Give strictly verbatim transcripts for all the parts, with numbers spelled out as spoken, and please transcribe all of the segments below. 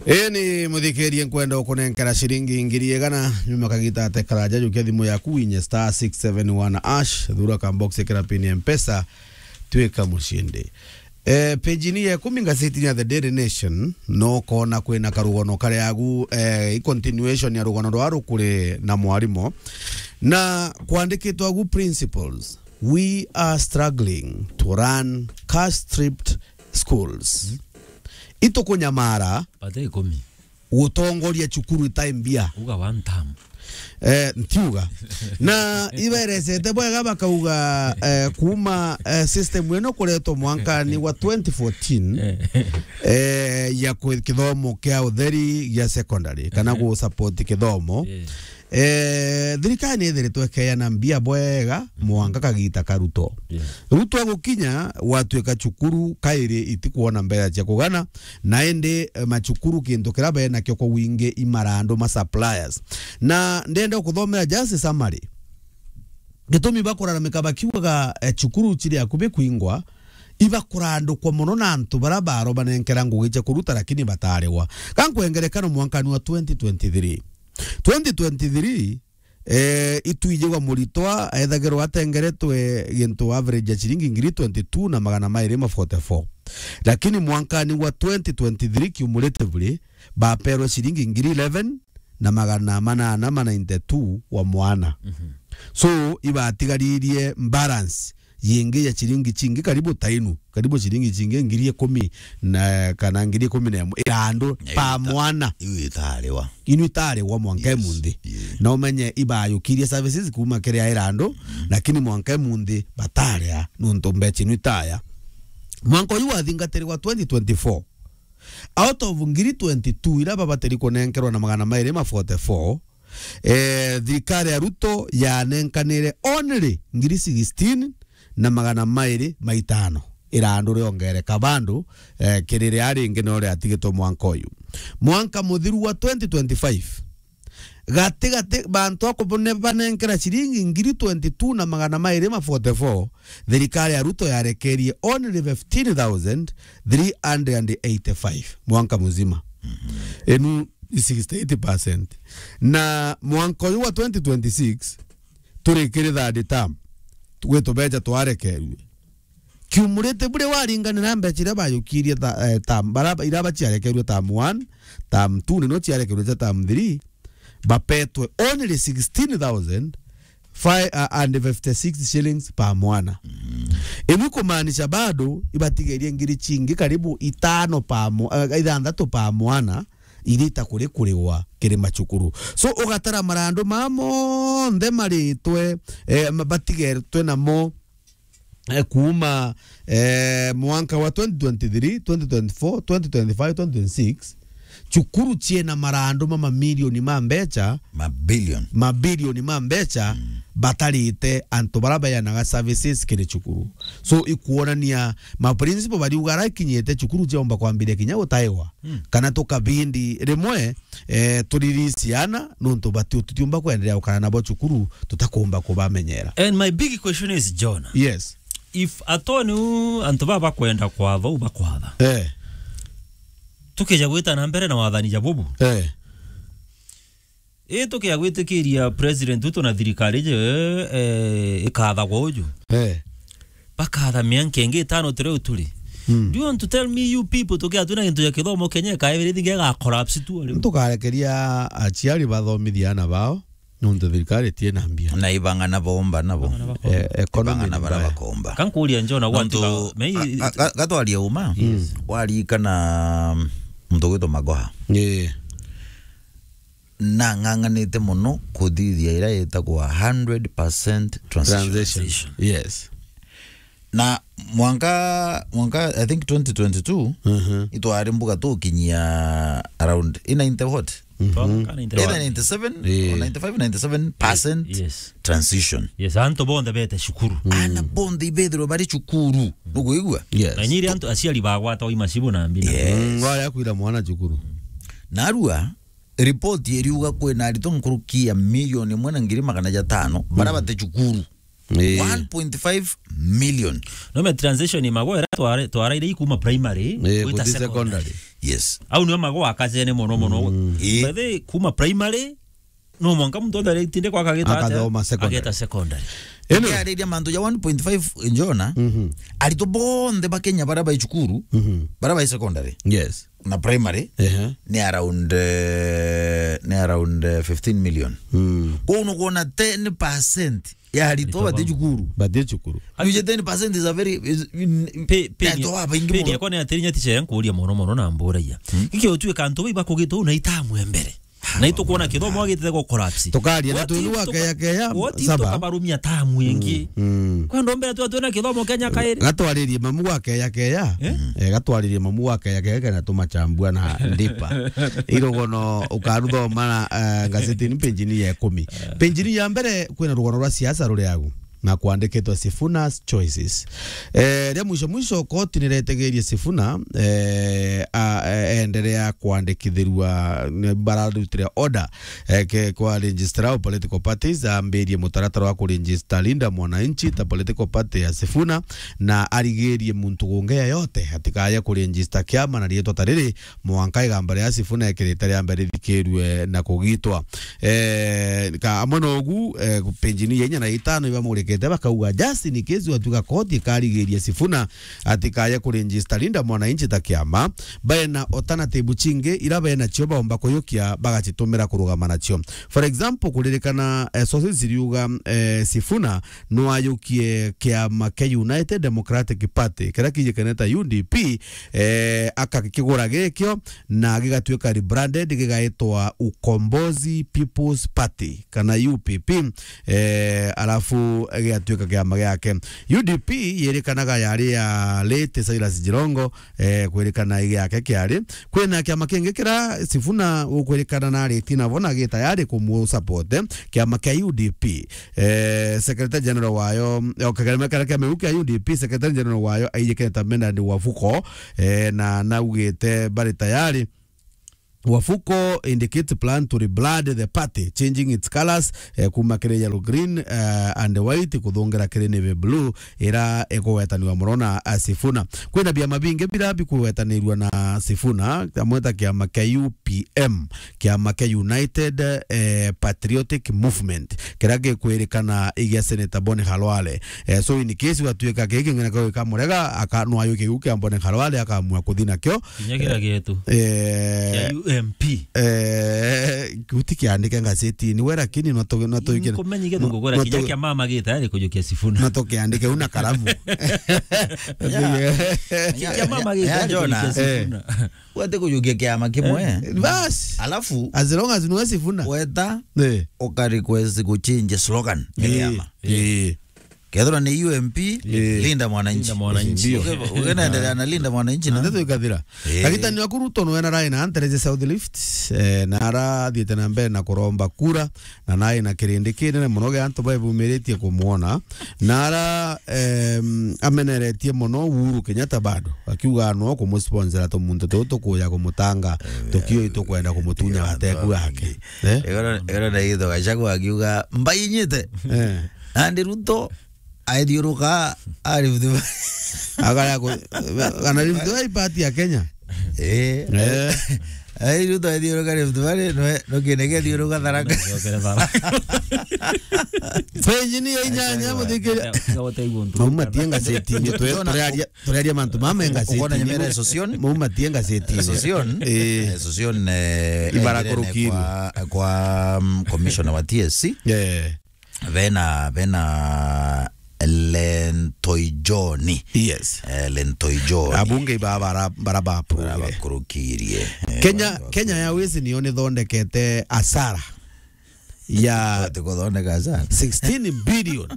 Ii ni muthikirie, nkwenda ukunenkera ciringi ngiri igana, nyuma kagita ate karaja, jukia thimu yaku, winye star six seven one hash, thura ka box, ikira pin ya Mpesa, twika mucindi. Eh, page-ini ya ikumi ngazetini ya The Daily Nation, no kona kwina karugano karia agu, eh, i continuation ya rugano rwa rukuri na mwarimo. Na kwandikitwe agu, principals, we are struggling to run cash-strapped schools. Itukunyamara. Pate ikumi. Gutongoria cukuru itai mbia. Uga one term. Eh, ntiuga. Na iberesete bwega bakauga, eh, kuuma, eh, system ino kuretwo mwankani wa twenty fourteen, eh, ya kwi-, kithomo kia utheri gia secondary, kana gu support kithomo. Eh, thirikari ni ithiritwe ikeana mbia bwega mwanka kagita ka Ruto. Ruto agukinya, gwatuika cukuru kairi itikwona mbeca cia kugana, na indi, eh, macukuru kintu kiria benakio kwa wingi i marandu ma suppliers. Na ndenda kuthomera just summary. Gitumi bakuraramika bakiugaga, eh, cukuru ciri akubi kwingwa, ibakurandukwa mono na antu baria barobanenkera ngugi cia kuruta lakini batarigwa. Ka nkwengerekano mwankani wa twenty twenty-three. Twenty twenty-three, eh, itwijigwa muritwa ethagirwa atengeretwe gintu average ya ciringi ngiri twenty-two na magana mairi ma forty-four. Lakini mwankani wa twenty twenty-three cumulatively, baperwe ciringi ngiri eleven na magana manana ma ninety-two wa mwana. So, ibatigaririe balance yingi ya ciringi cingi karibu ta inu, karibu ciringi cingi ngiri ikumi na, kana ngiri ikumi na imwe irandu pa mwana. Iu itariwa. Inu itariwa mwanka imunthi. Na umenye ibayukirie services kuuma kiri a irandu, lakini mwanka imunthi bataria nuntu mbeca inu itaya. Mwanka uyu wathingatirwa twenty twenty-four, out of ngiri twenty-two iria babatiri kunenkerwa na magana mairi ma forty-four, eh, thirikari ya Ruto yanenkanire only ngiri sixteen na magana mairi ma itano. Irandu riongereka bandu, eh, kiri ria ringi no riatigitwe mwanka uyu. Mwanka muthiru wa twenty twenty-five, gati gati bantu akubone banenkera ciringi ngiri twenty-two na magana mairi ma forty-four, thirikari ya Ruto yarekerie only fifteen thousand three hundred and eighty-five mwanka muzima. Inu i sixty-eight percent. Na mwanka uyu wa twenty twenty-six, turi kiri third term, gwitu beja twarekerue. Cumulatively waringanira mbeca iria bayukirie ta, eh, term, bara, iria baciarekerue term one, term two, nino ciarekerue cia term three, bapetwe only sixteen thousand five, uh, and fifty-six shillings per mwana. Imwe kumaanisha bado ibatigerie ngiri cingi karibu itano pa mwa-, eh, ithanthatu pa mwana, iria itakuri kurigwa kiri macukuru. So, ugatara marandu ma monthe maritwe, eh, ma-, batigeretwe namo, eh, kuuma, eh, mwanka wa twenty twenty-three, twenty twenty-four, twenty twenty-five, twenty twenty-six, cukuru ciena marandu ma mamilioni ma mbeca, mabilioni, mabilioni ma mbeca, batarite antu bara beanaga services kiri cukuru. So, ikuonania ma principal bariuga arakinyite cukuru ciomba kwambiria kinya gutaewa. Kana tukabindi rimwe, eh, turiri ciana, nontu bati-, tutiumba kwenderea gukara nabo cukuru, tutakumba kubamenyera. And my big question is, John, yes, if at all niu antu baba bakwenda kwatha u bakwatha, eh, tukija gwita na mbere na wathani ja bubu, eh, ii tukija gwitikiria president witu na thirikari je, eh, ikathagwa uju, eh, bakatha mianka ingi itano turi uturi. Do you want to tell me, you people, tukia twina gintu ja kithomo Kenya ikaebere thinge ga collapse tu ari? Tukarekeria aciari bathomithia ana bao, nontu thirikari itiena mbia. Na ibang'ana bomba nabo. Eh, economy ibang'ana ni bara mbaya. Bakomba. Kankuria John, nontu, gatwaria uma, warikana muntu gwitwa Magoha. Eh. Na ng'ang'anite mono kuthithia ira itagwa hundred percent transition. Transition. Yes. Na mwanka, mwanka, I think twenty twenty-two, itwari mbuga tukinyia around i ninety what? Either ninety-seven or ninety-five, ninety-seven percent transition. Yes, antu bonthe bete cukuru. Ana bonthe ibethirwe bari cukuru. Nukwigua? Yes. Na inyiri antu aciari bagwata oi macibu na mbina. Yes. Mm, waya kwira mwana cukuru. Narua, ripoti iriuga kwina aritwa nkuruki ya milioni imwe na ngiri magana jatano bara bate cukuru. Eh. One point five million. No me transition Magoha ira twara-, twaraire i kuma primary, eh, gwita guthi secondary. Secondary. Yes. Au nio magwaka cene mono mono. Mm. Ii. By the way, kuma primary, no mwanka muntu othe aritinde kwa akageta atia? Akathoma secondary. Ageta secondary. Ino. Ngiariria mantu ja one point five njona, Mhm. aritwo bonthe ba Kenya baria bai cukuru, Mhm. baria bai secondary Yes. na primary, Ehe. ni around, eh, ni around, eh, fifteen million. Mm. Kwou nukwona ten percent ya aritwo Aritwo bati ba- cukuru. Bati cukuru. Nuje ten percent is a very, is, in, Pe-, pe-, aritwo babaingi pe-, mono. Yakwa ni atirinya tiche nkuria mono mono na mburagia. Hmm? Giki utuika antu bai bakugitwo na itamu ya mbere. Na itukwona kithomo gitete go collapse. Tukaria na What twigua if tuka-, keya keya, what if saba? Tukabarumia tamu ingi? Mm, mm. Kwenda mbere tu twina kithomo Kenya kairi. Gatwaririe mamu gwa keya keya. Eh? Eh, gatwaririe mamu gwa keya keya kana tumachambua na ndipa. Irogono ukaruthoma na, eh, ngazetini penjini ya ikumi. Penjini ya mbere kwina rugono rwa siasa ruri agu na kwandikitwe Sifuna's Choices. Eh, ria mwisho mwisho, koti niretegerie Sifuna, eh, a, e-, enderea kwandikithirua, ni bararutire order, eh, ke, kwa registrar of political parties, ambirie mutaratara wa kuregister Linda Mwananchi ta political party ya Sifuna, na arigirie muntu gungi yeyote atikaye kuregister kiama na riitwa ta riri, mwanka igamba ria Sifuna ekirite ria mbere rithikirue na kugitwa. Eh, ka amwe na ugu, eh, penjini ya inya na itano ibamurikite bakauga, just in case watuga koti ikarigiria Sifuna atikaye kuregister Linda Mwananchi ta kiama, bena alternative chingi ira bena cio baomba kuyukia bagacitumira kurugama nacio. For example, kuririkana, eh, sources ziriuga, eh, Sifuna nwayukie kiama kia United Democratic Party, kiria kijikanite ta U D P, eh, akakigura gikio na gigatuika rebranded, gigaitwa Ukombozi People's Party kana U P P, eh, alafu gigatuika kiama giake. U D P yerikanaga yari ya late Silas Jirongo, eh, kwirikana giake kiari. Kwina kiama kingi kira Sifuna ukwirikana na late nabo na gi tayari kumu support, eh, kiama kia U D P. Eh, Secretary General wayo, o kiama kia miu kia U D P, Secretary General wayo aijikite ta Bernard Wafuko, eh, na naugite bari tayari. Wafuko indicates plan to rebrand the party, changing its colours, eh, kuma kiri yellow green, eh, and white kuthungira kiri navy blue, ira ikugwetaniwa mono na, ah, Sifuna. Kwina biama bingi bira bikugwetanirua na Sifuna, amwe ta kiama kia U P M, kiama kia United, eh, Patriotic Movement, kiria gikwirikana igia Senator Boni Khalwale. Eh, so in case watuika giki ng'ina kwa wika murega, aka-, no ayuke giu kia Boni Khalwale, akamua kuthi nakio. Kinya kira gietu. Eh, kia U M P. Eh, guti kiandike ngazetini we, lakini no tu-, no tuike-, nkumenye githungu no, gora no kinya tu-, kia mama gita ari kujukia Sifuna. No tukiandike una karamu. Kia mama gita ari kujukia Sifuna. Wete kujukia kiama kimwe. Eh, bas. Alafu, as long as niwe Sifuna. Weta, eh, uka request kuchinja slogan ya kiama. Eh. Kethirwa ni U M P, eh, Linda Mwananchi. Linda Mwananchi. Ndio. Uge-, ugenaendelea na Linda Mwananchi na ndeto ikathira. Eh. Kagitani waku Ruto nwe na rai na Antereje South Lift, eh, na arathiite na mbere na kuromba kura, na nai na kirindi kinene mono gia antu baibumiritie kumwona, na ara, em, ameneretie mono Uhuru Kenyatta bado, akiuga no kumusponsora tumuntu tutu tukuja kumutanga, eh, tukio itukwenda kumutunya gateku gake. Eh? Igoro, igoro na itho Gachagua akiuga, "Mbainyite." Eh. Nandi Ruto aithiuruka a Rift Valley. Agara ku-, kana Rift Valley part ya Kenya? Eh. Eh. Ai, Ruto aithiuruka Rift Valley, no, no kine gethiuruka Tharaka. Ngiokere Tharaka. Penjini ya inyanya, muthikire. Mauma tie ngazetini, twe-, turearia, turearia mantu mama ngazetini. Ukona nyemera Association? Mauma tie ngazetini. Association? Eh. Association, eh, ibara enjirene kurukiri. Kwa, kwa, mm, commissioner wa T S C. Eh. Bena, bena Lentoi John. Yes. Eh, Lentoi John. Abunge iba bara, bara ba approve. Bara bakurukirie. Eh, Kenya, bara Kenya Airways niyo nithondekete asara ya ati kuthondeka asara. Sixteen billion.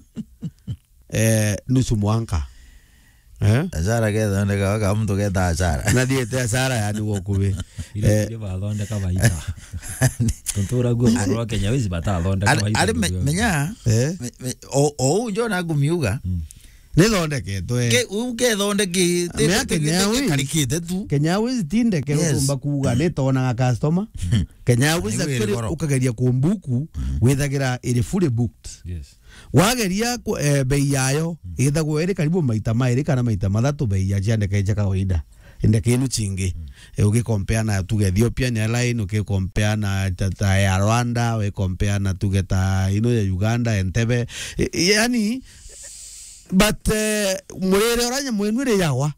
Eh, nusu mwanka. Eh? Asara kethondeka, waka muntu keta asara. Na thiete asara yani gwa ukubi. Ile, eh, ile bathondeka baita. Kuntura guo kurwa Kenya Airways batathondeka ari, baita ari me-, ndugu. Menya, eh? Me-, me-, o, o unjo na kumiuga. Mm. Nithondeketwe. Ke, u kethondeki, te, mea te, Kenya te, Airways. Karikite tu. Kenya Airways tindeke, yes, utumba kuuga, mm, nitonaga customer. Kenya Airways actually ukageria kumbuku, mm, withagira iri fully booked. Yes. Wageria ku-, eh, bei yayo, mm, ithagwo iri karibu maita mairi kana maita mathatu bei ya cia ndeke cia kawaida. ndeke inu cingi. Mm. E, ugikompea na tuge Ethiopian Airline, ukikompea na ta, ta Air Rwanda, wikompea na tuge ta ino ya Uganda, Entebbe. E, e, yani, but, eh, murire uria nyamu inu iri yagwa.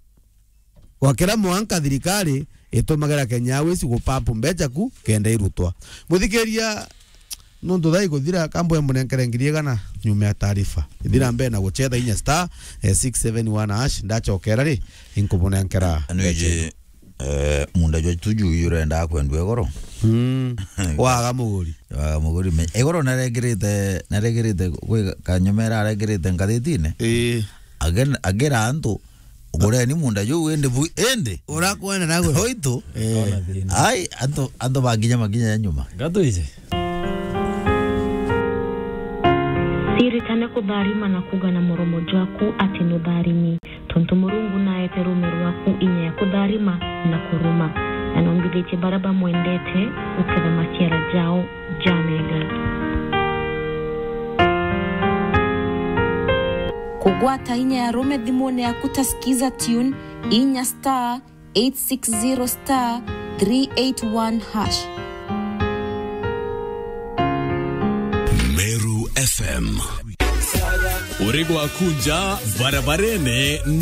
Gwakira mwanka thirikari itumagira Kenya Airways gupampu mbeca ku kenda irutwa. Muthikiria, nontu thaa ikuthira, kambo emunenkere ngiri igana nyuma ya taarifa. Ithira mbere na gucetha inya star, eh, six seven one hash, ndachokera ri, inkubunenkera. Anu iji, eh, munda jwa tuju yu urenda kwendua igoro. Mm. Waga muguri. Waga muguri me-, igoro naregirite, naregirite gwi kanyumera aregirite ngathitine. Ii. Agen-, agira antu, "Gureni munda juu indi bu-, indi." Urakwenda nawe. Oitu. Eh. Ai, antu, antu bakinya makinya ya nyuma. Ngatwije. Ciritane kutharima na kuuga na muromo jwaku ati nutharimi, tontu Murungu naete ruume rwaku inya ya kutharima na kuruma, na nombithitie baria bamwendete guketha maciara jao. Jamega. Kugwata inya ya rume thimune yaku ta Skiza Tune, inya star eight six zero star three eight one hash. Meru F M. Uri gwaku nja barabarene.